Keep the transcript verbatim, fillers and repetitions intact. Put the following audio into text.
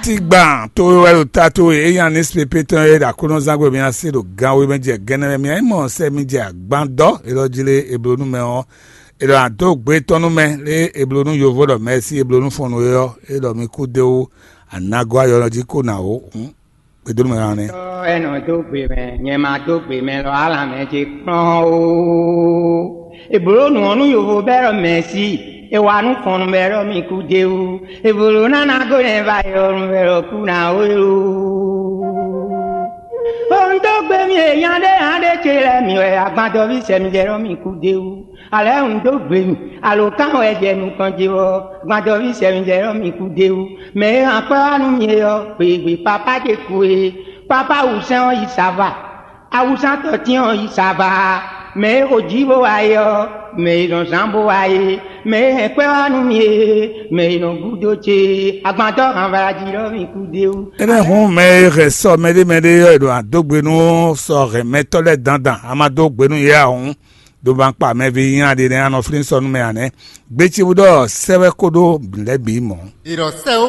Tigban towe wɛ ɖo ta towe, eya ní sipépé tɔn e ɖo aklúnɔzán gbe mia se ɖo gan we mɛ jɛ gɛnɛ mɛ mia yi mɔ sɛ mi jɛ agban dɔ elɔ jí lé eblo nú mɛ ɔ́, elɔ ado gbe tɔn nú mɛ lé eblo nú yovo ɖɔ mɛ sí eblo nú fɔnnu e ɔ́, elɔ mi kú de wú anagɔ ayɔ jí kó na wó. Gbedonu mɛ hàn nɛ. Tɔ́ ɛ nɔ dó gbe mɛ, nyɛ ma dó gbe mɛ lɔ, alǎ mɛ ce kplɔ́n ó. È blǒ nǔ ɔ́ nú yovo bɛ́ ɖɔ mɛ̌si, è wa nú fɔnnu bɛ́ ɖɔ mi kú d'é wú. È blǒ ná ná gó nɛ́ va yɔ nu bɛ́ ɖɔ kú ná ó é ó. Ó un dó gbe mi è nya ɖé nya ɖé ce lɛ́ɛ mi wɛ agban dɔví sɛ mi jɛ ɖɔ mi kú d'é wú. Alɛ̌ un dó gbe mi, alǒkan wɛ jɛ nukɔn ce ɔ́, agban dɔví sɛ mi jɛ ɖɔ mi kú d'é wú. Mɛ e hɛn akwɛ́ wá nú mi é ɔ́, gběgbé papá ce kú é. Papá wǔsɛ́n ɔ́ yi sava. Awusantɔ́tín ɔ́ yi sava, mɛ e xo jǐ bó wá é ɔ́, mɛ e nɔ zán bó wá é, mɛ e hɛn kwɛ́ wá nú mi é, mɛ e nɔ gúdo ce, agbantɔ́ hanvla jí ɖɔ mi kú d'é wú. Énɛ́ hǔn mɛ e hɛn sɔ mɛɖé mɛɖé ɔ́, è ɖo adógbe nú sɔ hɛn mɛtɔ́ lɛ́ɛ dandan, a ma dó gbe nú yě ǎ hǔn, ɖo ma kpa mɛví nylá ɖé nɛ́ a nɔ flín sɔ nú mɛ ǎ nɛ́. Gbécíwú ɖɔ sɛ́ wɛ kó ɖó lɛ̌ bǐ mɔ̌. È ɖɔ sɛ́ ó